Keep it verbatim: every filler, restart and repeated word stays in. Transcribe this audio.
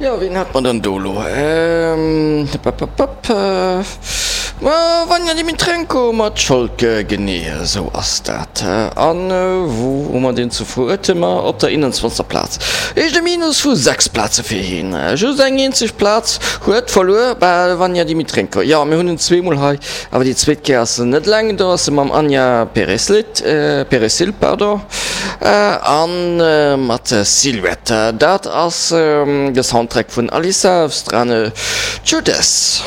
Jo, wien hat mer dann do elo? Ma Vanja Dimitrenko mat Scholke, genee esou ass dat. An wou hu mer deen zu Fuertemer? Op der eenanzwanzegster Plaz. Heescht e Minus vu sechs Plaze fir hien. Just eng eenzeg Plaz huet verluer, bal Vanja Dimitrenko. Jo, mir hunn en zweemol hei, awer déi zweet Kéier ass en net eleng, do ass e mam Anja Pereslit, Peresil, pardon, a mat Silhouette. Dat ass de Soundtrack vun Alisa v Strane Čudes.